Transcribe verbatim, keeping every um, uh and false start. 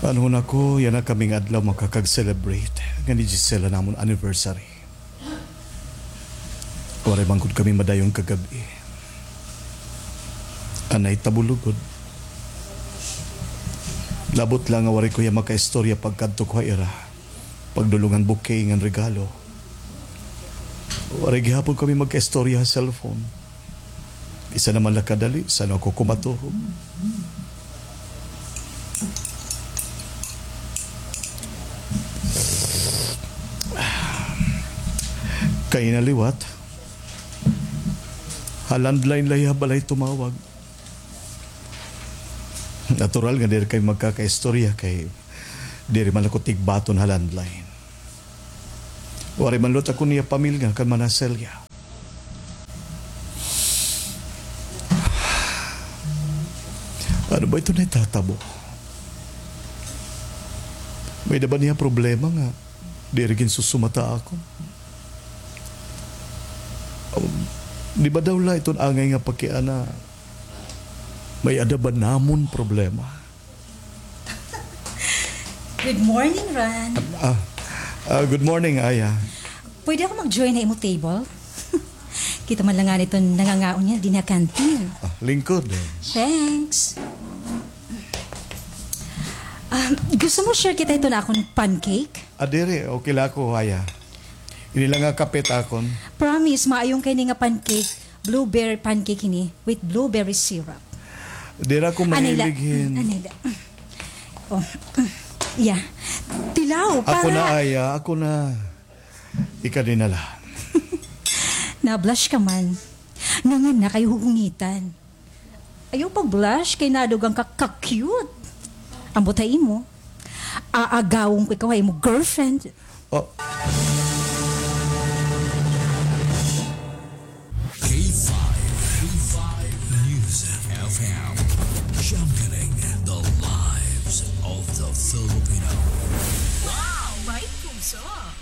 Ano na ko, yana kami nga adlaw makakag-celebrate nga ni Giselle an amon anniversary. Waray man gud kami madayon kagab-i. An nahitabo lugod, labot la nga waray ko hiya makaistorya pagkadto ko ha ira, pagdulong han bouquet ngan regalo. Waray gihapon kami magkaistorya ha cellphone. Bisan naman la kadali, san-o ako kumaturog. Kaina liwat, ha landline la hiya ha balay tumawag. Natural nga diri kami magkakaistorya kay diri man ako tigbaton ha landline. Waray man liwat ako niya pamilya kan Mana Celia. Ano ba ito nahitatabo? May-ada ba niya problema nga diri ginsusumata ako? Um, di ba daw la iton angay nga pakiana, may-ada ba namon problema? Good morning, Ran. Ah, ah, good morning, Aya. Pwede ako mag-join ha imo table? Kita man la ngani iton nangangaon niya dinhi ha canteen. Ah, lingkod, eh. Thanks. Ah, gusto mo share kita iton akon pancake? Ah, diri, okay la ako, Aya. Ini la nga kape it akon. Promise, maayo ngani ini nga pancake. Blueberry pancake ini with blueberry syrup. Diri ako mahilig hin. Anay la. Oh. Yeah. Tilaw, ako na, Aya, ako na. Ikaw dinhi na la. Na-blush ka man. Ngangan na kay hugungitan. Ayaw pag-blush kay nadugang ka ka-cute. Ambot ha imo, aagawon ko ikaw ha imo girlfriend. Oh. K five, K five News F M, championing the lives of the Filipino. Wow, may puso.